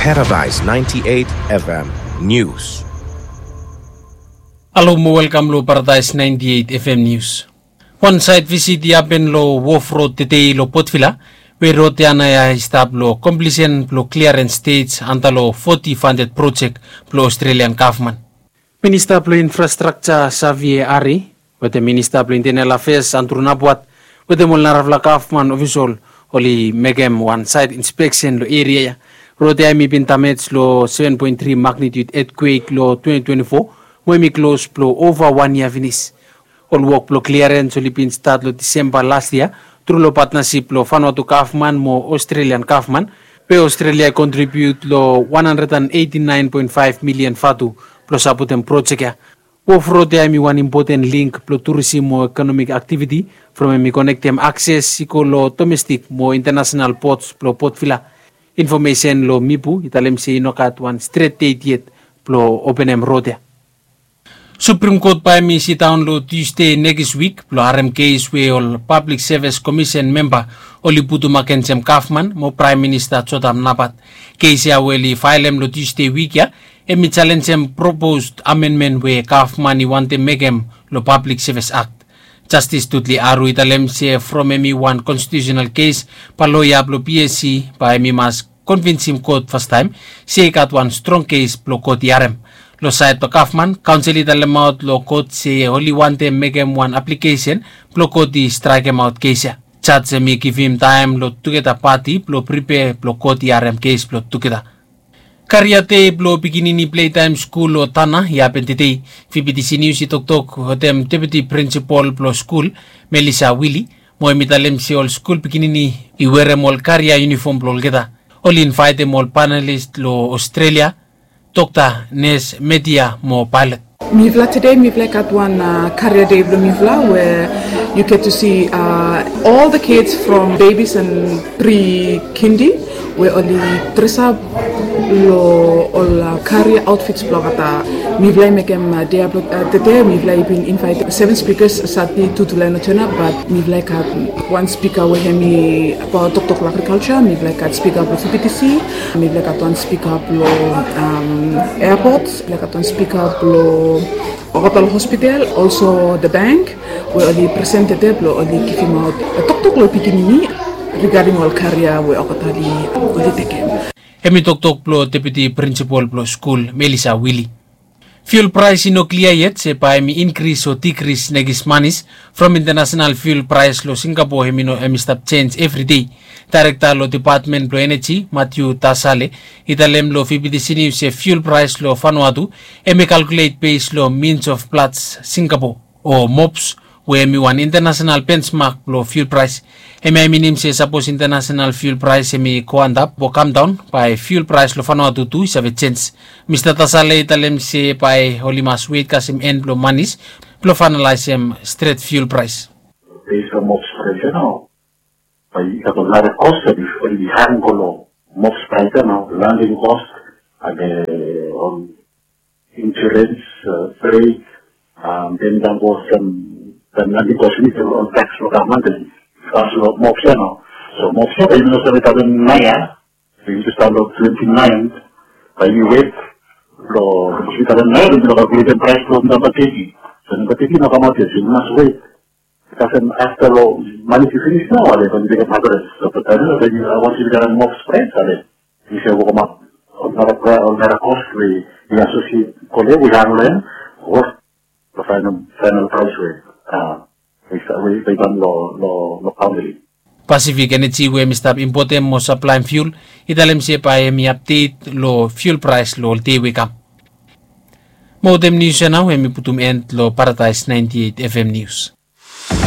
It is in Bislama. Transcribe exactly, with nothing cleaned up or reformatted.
Paradise ninety-eight F M News. Halo mo welkam lo Paradise ninety-eight F M News. Wan sait visit i hapen lo Wharf Road tedei lo Port Vila, we rod ya nao ya i stap lo komplisen blo kliarens stej anta lo foti funded projek blo Australian gavman. Minista blo Infrastrakja Xavier Arry wetem Minista blo Intenal Afeas Andrew Napuat wetem ol narafala gavman ofisol oli mekem wan sait inspeksen lo eria ya. Rod ya hemi bin damej lo seven point three magnitude etkwek lo twenty twenty-four, mo hemi klos blo ova wan yia finis. Ol wok blo kliarens oli bin stat lo Disemba las yia tru lo patnasip blo Vanuatu gavman mo Australian gavman, we Australia i kontribiut lo one hundred and eighty-nine point five milian vatu blo sapotem projek ya. Wharf Road ya hemi wan impoten link blo turisim mo ekonomik aktiviti from hemi konektem akses i go lo domestik mo intanasenal pots blo Port Vila. Infomesen lo Mipu i talem se i no gat wan stret det yet blo openem rod ya. Suprim Kot bae hemi sidaon lo Tusde nekis wik blo harem kes we ol Pablik Sevis Komisen memba oli putum agensem gavman mo Praem Minista Jotham Napat. Kes ya we oli faelem lo Tusde wik ya hemi jalenjem propos amenmen we gavman i wantem mekem lo Pablik Sevis Akt. Jastis Dudley Aru i talem se from hemi wan konstitiusenal kes, bae loea blo P S C bae hemi mas konvinsim kot fastaem se i gat wan strong kes blo kot i harem. Lo saed blo gavman, kaonsel i talemaot lo kot se oli wantem mekem wan aplikesen blo kot i straekemaot kes ya. Jaj hemi givim taem lo tugeta pati blo pripea blo kot i harem kes blo tugeta. Karia dei blo pikinini plei taem skul lo Tanna i hapen tedei. V B T C News i toktok wetem deputi prinsipol blo skul, Melissa Willie, mo hemi talem se ol skul pikinini i werem ol karia iunifom blo olgeta. Oli invaetem ol panelis lo Australia, dokta, nes, media mo paelot. Mifala tede mifala i gat wan karia dei blo mifala we you get to see all the kids from babies and pre-kindi we oli dresap lo ol karia aotfits blo olgeta. Mifala i mekem dei ya blo tede mifala i bin invaet seven spikas, sati tu tulai no tena, bat mifala i gat wan spika we hemi abaot toktok lo agrikalja, mifala i gat spika blo V B T C, mifala i gat wan spika blo airport, mifala i gat wan spika blo olgeta lo hospital, also the bank, we oli present tede blo oli givimaot toktok lo pikinini regarding ol karia we olgeta oli tekem. Hemi toktok blo deputi prinsipol blo skul, Melissa Willie. Fiul praes i no klia yet se bae hemi inkris o dikris nekis manis from intanasenal fiul praes lo Singapo hemi no hemi stap jenj evri dei. Daerekta lo depatmen blo eneji, Matthew Tasale, i talem lo V B T C News se fiul praes lo Vanuatu hemi kalkulet bes lo means of Platts Singapo o mops, we hemi wan intanasenal bensmak blo fiul praes. Hemia i minim se sapos intanasenal fiul praes hemi go antap o kamdaon, bae fiul praes lo Vanuatu tu i save jenj. Mista Tasale i talem se bae oli mas wet kasem en blo manis blo faenalaesem stret fiul praes. Bes lo mops praes ya nao, bae i gat ol nara kos we oli hang go lo mops praes ya nao, landing kos, ol insurens, freit, den i go olsem, den landing kos, ol taks blo gavman, taks blo mops ya nao. So mops ya bae yumi no save talem naoia, yumi jes talem lo twenty nine, bae yumi wet lo, yumi talem naoia, yumi no kalkuletem praes blo namba teti. So namba teti no kamaot yet, so yumi mas wet. Kasem afta lo manis i finis nao, ale bae yumi mekem average. So taem ya bae yumi, wantem yumi talem mops praes, ale yumi save wokamap ol nara praes, ol nara kos we i asosiet, kole we i hang lo hem, o lo faenal, faenal praes we, a, we i kam lo, lo, lo kaonti. Pacific Energy we hemi stap impotem mo saplaem fiul i talem se bae hemi apdet lo fiul praes lo ol dei we i kam. Mo wetem nius ya nao hemi putum en lo Paradise ninety eight F M News.